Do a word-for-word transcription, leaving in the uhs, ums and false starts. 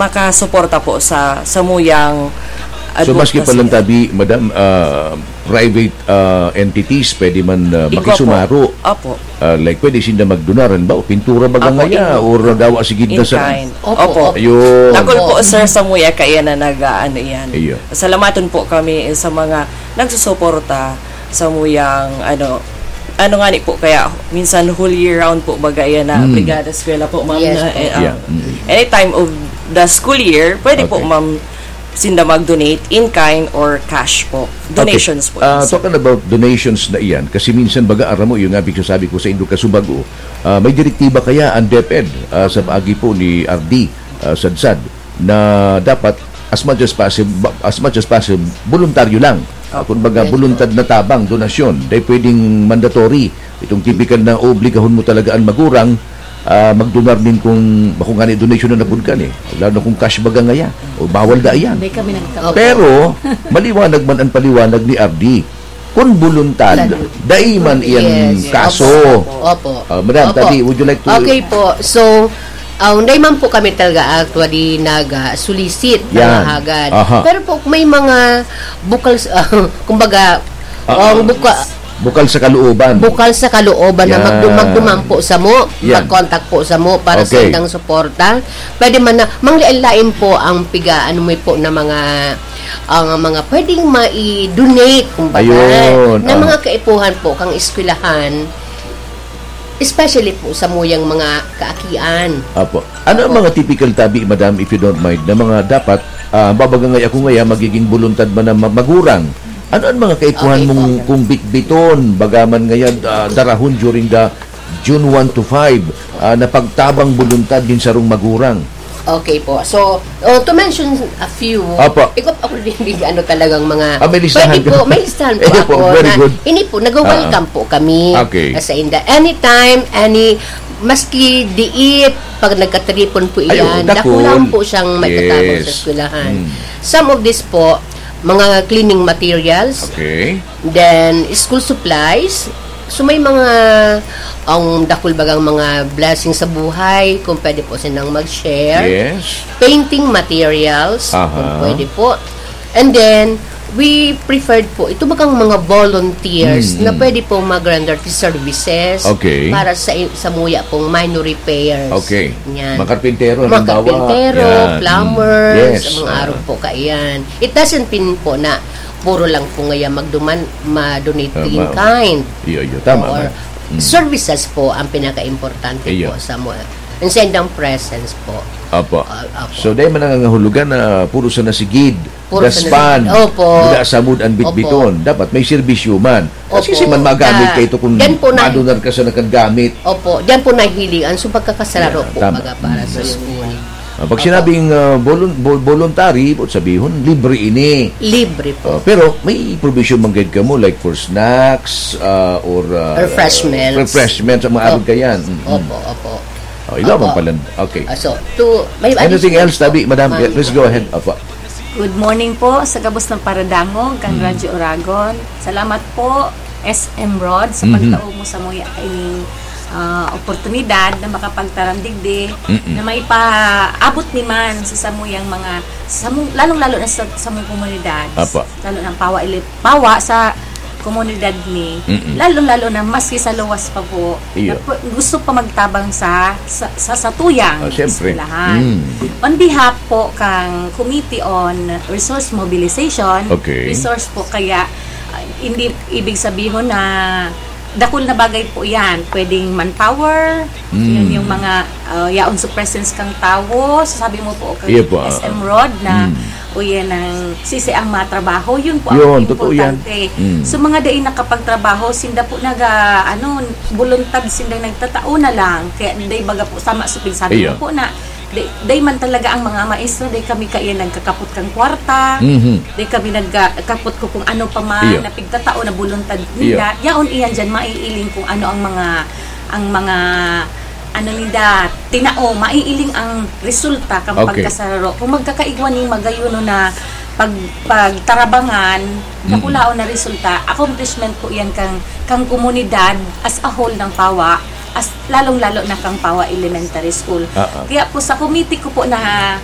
makasuporta po sa samuyang So, maski advocacy. Palang tabi, madam, ah, private, ah, entities, pwede man, ah, Igwa po. Makisumaro. Opo. Ah, like, pwede sinda magdonar, halimbawa, pintura baga Opo, ngaya, in, or dawa sigid na in sa kind. Opo, Opo. opo. Ayun. Dakul po, Opo. sir, samuya kaya na nag-aano yan. Iyo. Salamaton po kami sa mga nagsusuporta samuyang, ano, ano nga ni po, kaya minsan whole year round po baga yan na Mm. Brigada Eskwela po, ma'am, Yes na, po. eh, ah, Yeah. Mm. any time of the school year, pwede po, Okay. ma'am, sinda mag-donate in kind or cash po. Okay. Donations po Ah, yun, sir. Talking about donations na iyan, kasi minsan baga aram mo, yung nga sabi ko sa indo kasubago, ah, may direktiba kaya ang DepEd, ah, sa paagi po ni R D, ah, Sadsad, na dapat as much as possible, as much as possible, voluntaryo lang. Ah, kumbaga, Yes po. voluntad na tabang, donasyon, dahil pwedeng mandatory. Itong typical na oobligahon mo talaga ang magurang, ah, magdonar nin kung, bako nga ni donation na napud ka ni. Lalo na kung cash baga ngaya. O bawal da iyan. Hindi kami nagtao. Opo. Pero, maliwanag man ang paliwanag ni R D. Kung buluntad, Lalo. dai man iyan Yes. kaso. Opo, opo. Ah, madam, Opo. Tadi, would you like to Okay po. So, ah, hindi man po kami talaga actually nag-, ah, solicit Yan. Hagad. Aha. Pero po, may mga bukal sa, kumbaga, Ah, ang ah. buka-, Bukal sa kalooban. Bukal sa kalooban na Yan. magdum-, magduman po sa mo, Yan. mag-contact po sa mo para sa Okay. indang suporta. Pwede man na, manglain-lain po ang piga, ano mo po na mga, ang mga pwedeng mai-donate, kumbaga, Ayun, na ah. mga kaipuhan po kang eskwelahan, especially po sa muyang mga kaakian. Apo. Ano ang Apo. mga typical tabi, madam, if you don't mind, na mga dapat, ah, babaga ngaya ako ngaya, magiging buluntad man na ma-, magurang? Ano ang mga kaipuhan Okay mong po. kung bitbiton, bagaman ngayon, ah, darahon during the June one to five, ah, na pagtabang buluntad nin sarong magurang? Okay po. So, oh, to mention a few, Opo. ikaw ako rin, ano talagang mga, Ah, may listahan pwede ka? po, may listahan po Ayun po, ako very na, good. hindi po, nag-welcome Ah. po kami Okay. sa inda. Anytime, any, maski diit, pag nagkatripon po Ay, oo, iyan, dakul. dakul lang po siyang maitatapon sa Yes. eskwelahan. Mm. Some of this po, mga cleaning materials, Okay. then school supplies. So, may mga, ang dakul bagang mga blessing sa buhay, kung pwede po silang mag-share. Yes. Painting materials, Aha. kung pwede po. And then, we preferred po, ito bagang mga volunteers Mm, na mm. pwede po mag-render services Okay. para sa, sa muya pong minor repairs. Okay. Yan. Mga karpintero, Mga halimbawa. karpintero, Yan. plumbers, Yes. mga Ah. arog po kaiyan. It doesn't mean po na puro lang po ngaya magduman, ma-donate Tama. in kind. Iyo, iyo. Tama Or man. Mm. services po ang pinaka-importante Iyo. po sa mga, ang sendang presence po. Apo. Ah, apo. So, dahil man nangangahulugan na puro sa nasigid, Puro sa daspan, nasigid. Opo. wala sa mood ang Opo. bitbiton. Dapat may serbisyo man. Kasi Opo. si man magamit Ah, ka ito kung yan po na madunar ka sa nakagamit. Opo, diyan po nahiling ang so pagkakasararo Yeah, po tama. baga para sa Mm. school. Ah, pag Opo. sinabing, ah, volun-, vol-, voluntary, ibig sabihon, libre ini. Libre po. Ah, pero may provision man gayud kamo, like for snacks, ah, or, ah, Refreshments. refreshments, ang mga Opo. arog kayan. Mm-mm. Opo, opo. Oh, ikaw Opo. man pala. Okay. Ah, so, to, may Anything additional else, tabi, po. madam? Ma'am. Please go ahead. Opo. Good morning po sa gabos ng Paradangog, kan Mm. Radyo Oragon. Salamat po, S M Rod, sa Mhm. pagtao mo sa muya ining, ah, oportunidad na makapagtaram digdi, Mm-mm. na maipaabot ni man sa samuyang mga, sa samu-, lalong-lalo na sa, sa samong komunidad. Apa. Lalo ng Pawa Ili-, Pawa sa komunidad ni, Mm-mm. lalong-lalo na maski sa luwas pa po, Iyo. na pu-, gusto pa magtabang sa, sa, sa, sa tuyang Ah, siyempre. eskwelahan. Mm. On behalf po kang Committee on Resource Mobilization, Okay. resource po kaya, ah, hindi ibig sabihin na dakul na bagay po yan. Pwedeng manpower, Mm. yun yung mga, ah, yaon sa presence kang tawo. Sabi mo po kay Iyo po, ah, S M Rod na Mm. o yan ang sisi ang matrabaho, yun po ang Yun, totoo yan. importante. Mm. So, mga dai nakapagtrabaho, sinda po naga, ano, buluntad sinda nagtatao na lang. Kaya dai baga po, sama sa pinsabi Iyo. mo po na, dai, dai man talaga ang mga maestra, dai kami kaya nagkakapot kang kwarta, Mhm. dai kami nagkakapot ko kung ano pa man, Iyo. na pigtatao na buluntad Iyo. nila. Yaon iyan dyan, maiiling kung ano ang mga, ang mga, ano ninda, tinao, maiiling ang resulta kang Okay. pagkasararo. Kung magkakaigwa ning magayon na pag-, pagtarabangan, Mm. dakulaon na resulta, accomplishment po yan kang, kang komunidad as a whole ng Pawa, as, lalong-lalo na kang Pawa Elementary School. Ah, ah. Kaya po sa committee ko po na